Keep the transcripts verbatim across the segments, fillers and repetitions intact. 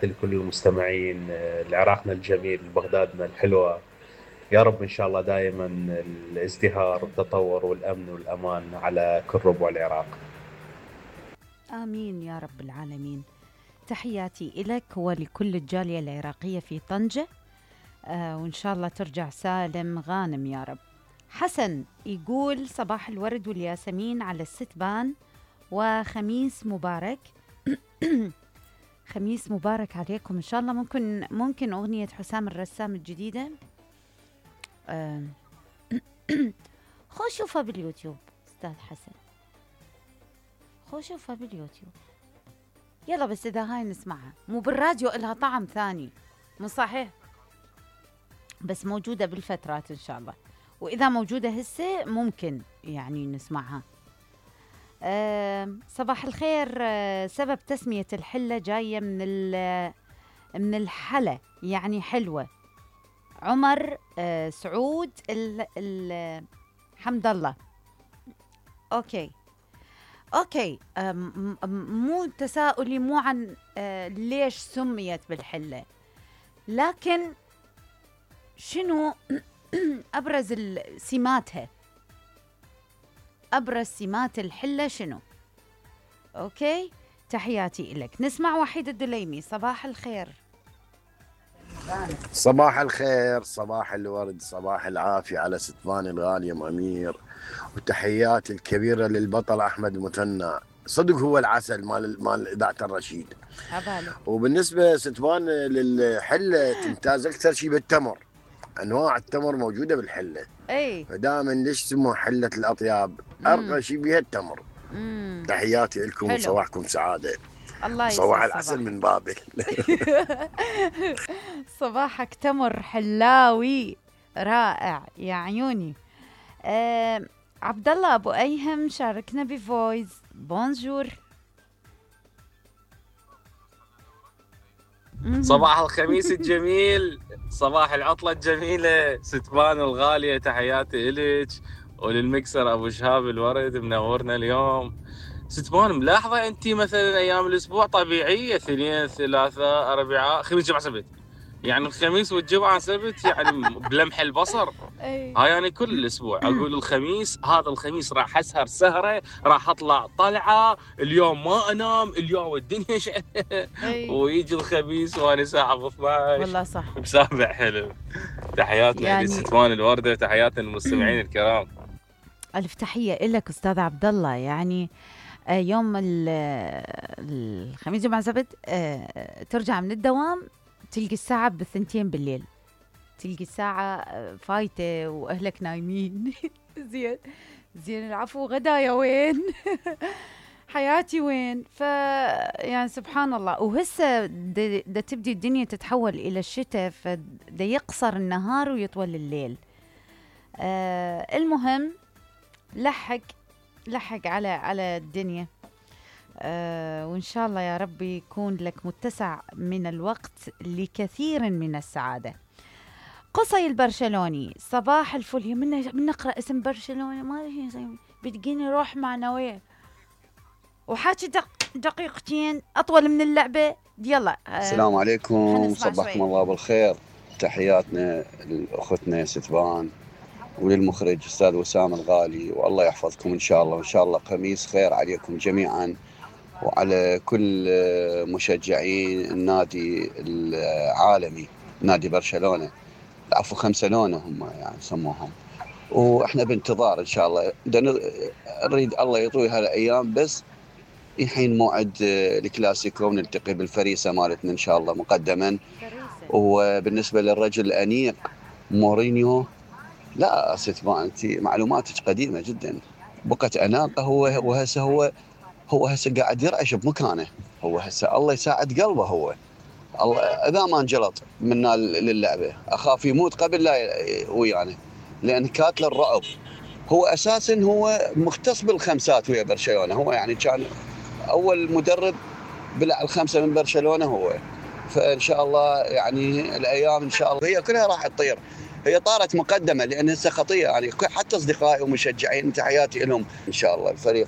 لكل المستمعين آه، لعراقنا الجميل بغدادنا الحلوة. يا رب إن شاء الله دائما الازدهار والتطور والأمن والأمان على كل ربوع العراق. آمين يا رب العالمين. تحياتي إلك ولكل الجالية العراقية في طنجة، آه وإن شاء الله ترجع سالم غانم يا رب. حسن يقول صباح الورد والياسمين على الستبان وخميس مبارك. خميس مبارك عليكم إن شاء الله. ممكن ممكن أغنية حسام الرسام الجديدة آه. خو شوفها باليوتيوب أستاذ حسن، خو شوفها باليوتيوب يلا. بس إذا هاي نسمعها مو بالراديو إلها طعم ثاني، مو صحيح؟ بس موجودة بالفترات إن شاء الله، وإذا موجودة هسه ممكن يعني نسمعها. أه صباح الخير. أه سبب تسمية الحلة جاية من من الحلة يعني حلوة. عمر أه سعود ال ال حمد الله. أوكي أوكي. أه مو تساؤلي مو عن أه ليش سميت بالحلة، لكن شنو أبرز سماتها، أبرز سمات الحلة شنو؟ أوكي، تحياتي إلك. نسمع وحيد الدليمي. صباح الخير. صباح الخير، صباح الورد، صباح العافية على ستفان الغالي أم أمير، وتحياتي الكبيرة للبطل أحمد مثنى. صدق هو العسل مال مال إذاعة الرشيد. عبالي. وبالنسبة ستفان للحلة تمتاز أكثر شيء بالتمر، أنواع التمر موجودة بالحلة. اي فدائما ليش سموها حلة الأطياب؟ أرقى شيء بها التمر. مم. تحياتي لكم وصباحكم سعادة. الله يسعدك. صباح العسل من بابل. صباحك تمر حلاوي رائع يا عيوني. آه عبد الله ابو ايهم شاركنا بفويس. بونجور. صباح الخميس الجميل، صباح العطلة الجميلة، ستفان الغالية، تحياتي إليك وللمكسر أبو شهاب الورد منورنا اليوم. ستفان ملاحظة أنت مثلا أيام الأسبوع طبيعية، اثنين ثلاثاء أربعاء خميس جمعة سبت، يعني الخميس والجمعة سبت يعني بلمح البصر. هاي يعني كل الأسبوع أقول الخميس هذا الخميس راح أسهر سهرة، راح أطلع طلعة، اليوم ما أنام، اليوم الدنيا ش... ويجي الخميس وأنا ساعة ب اثنعش والله صح بسابع حلو. تحياتنا يعني... لستفان الوردة، تحياتنا للمستمعين الكرام. ألف تحية لك أستاذ عبد الله. يعني يوم الخميس جمعة سبت ترجع من الدوام تلقي الساعة بالثنتين بالليل، تلقي الساعة فايتة وأهلك نايمين. زين زين العفو، غدايا وين؟ حياتي وين؟ ف يعني سبحان الله. وهسه دا تبدي الدنيا تتحول إلى الشتاء، فدا يقصر النهار ويطول الليل. آه المهم لحق لحق على على الدنيا. آه وإن شاء الله يا رب يكون لك متسع من الوقت لكثير من السعادة. قصي البرشلوني صباح الفل. من من نقرأ اسم برشلونة ما بتجيني روح معنوية وحاجة دق دقيقتين أطول من اللعبة. يلا آه السلام عليكم، صباحكم الله بالخير. تحياتنا لأختنا ستفان وللمخرج أستاذ وسام الغالي، والله يحفظكم إن شاء الله، وإن شاء الله خميس خير عليكم جميعا وعلى كل مشجعين النادي العالمي نادي برشلونة. العفو خمسلونة هم يعني سموهم، وإحنا بانتظار إن شاء الله. نريد الله يطوي هالأيام بس يحين موعد الكلاسيكو ونلتقي بالفريسة مالتنا إن شاء الله مقدما. وبالنسبة للرجل الأنيق مورينيو، لا ستفان أنت معلوماتك قديمة جدا. بقت أناقة هو وهسه هو هو هسه قاعد يرعش بمكانه. هو هسه الله يساعد قلبه. هو الله إذا ما انجلط منا للعبة أخاف يموت قبل لا ويانا، لأن كاتل الرعب. هو أساسا هو مختص بالخمسات ويا برشلونة. هو يعني كان أول مدرب بلع الخمسة من برشلونة هو. فإن شاء الله يعني الأيام إن شاء الله هي كلها راح تطير. هي طارت مقدمه لان هسه خطيه يعني حتى اصدقائي ومشجعين تحياتي لهم ان شاء الله. الفريق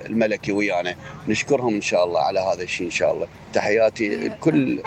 الملكي ويانا نشكرهم ان شاء الله على هذا الشيء ان شاء الله. تحياتي لكل